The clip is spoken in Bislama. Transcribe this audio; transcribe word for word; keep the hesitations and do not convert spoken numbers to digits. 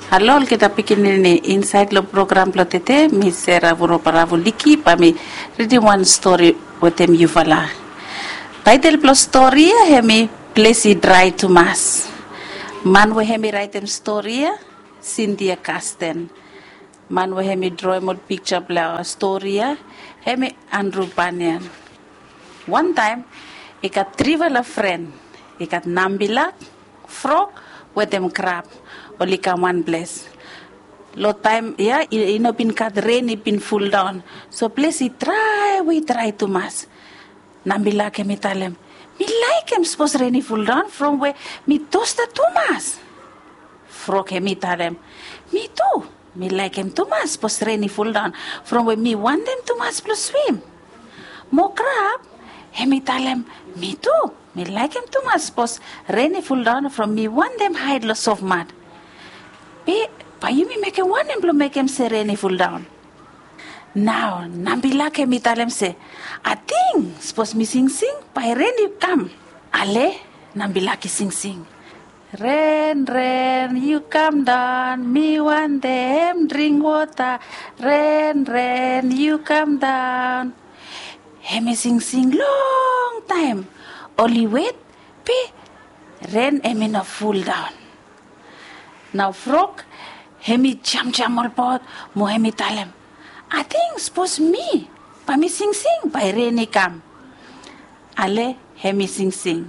Halo olgeta pikinini, insaed long program blong tede mi Sera Vurobaravu Liki bae mi ridim wan stori wetem yufala. Taetel blong stori ya hemi Ples i Drae Tumas. Man we hemi raetem stori ya, Sindia Kasten. Man we hemi droem ol piksa blong stori ya hemi Andru Banian. Wantaem i gat trifala fren. I gat nambilak, frok wetem krab. Oli kam wan ples. Long taem ya i no bin gat ren, i bin fuldaon. So ples i drae we i drae tumas. Nambilak hemi talem, mi laekem sapos ren i fuldaon from we mi tosta tumas. Frok hemi talem, mi tu, mi laekem tumas sapos ren i fuldaon from we mi wantem tumas blong swim. Mo krab hemi talem, mi tu, mi laekem tumas sapos ren i fuldaon from mi wantem haed long sofmat. Be bae yumi mekem wanem blong mekem se ren i fuldaon? Nao nambilak hemi talem se, ating sapos mi singsing bae ren i kam. Ale, nambilak i singsing, ren ren yu kamdaon, mi wantem dring wota. Ren ren yu kamdaon. Hemi singsing longtaem. Oli wet, be ren hemi no fuldaon. Nao frok hemi jamjam olbaot mo hemi talem, ating sapos mi bae mi singsing bae ren i kam. Ale, hemi singsing,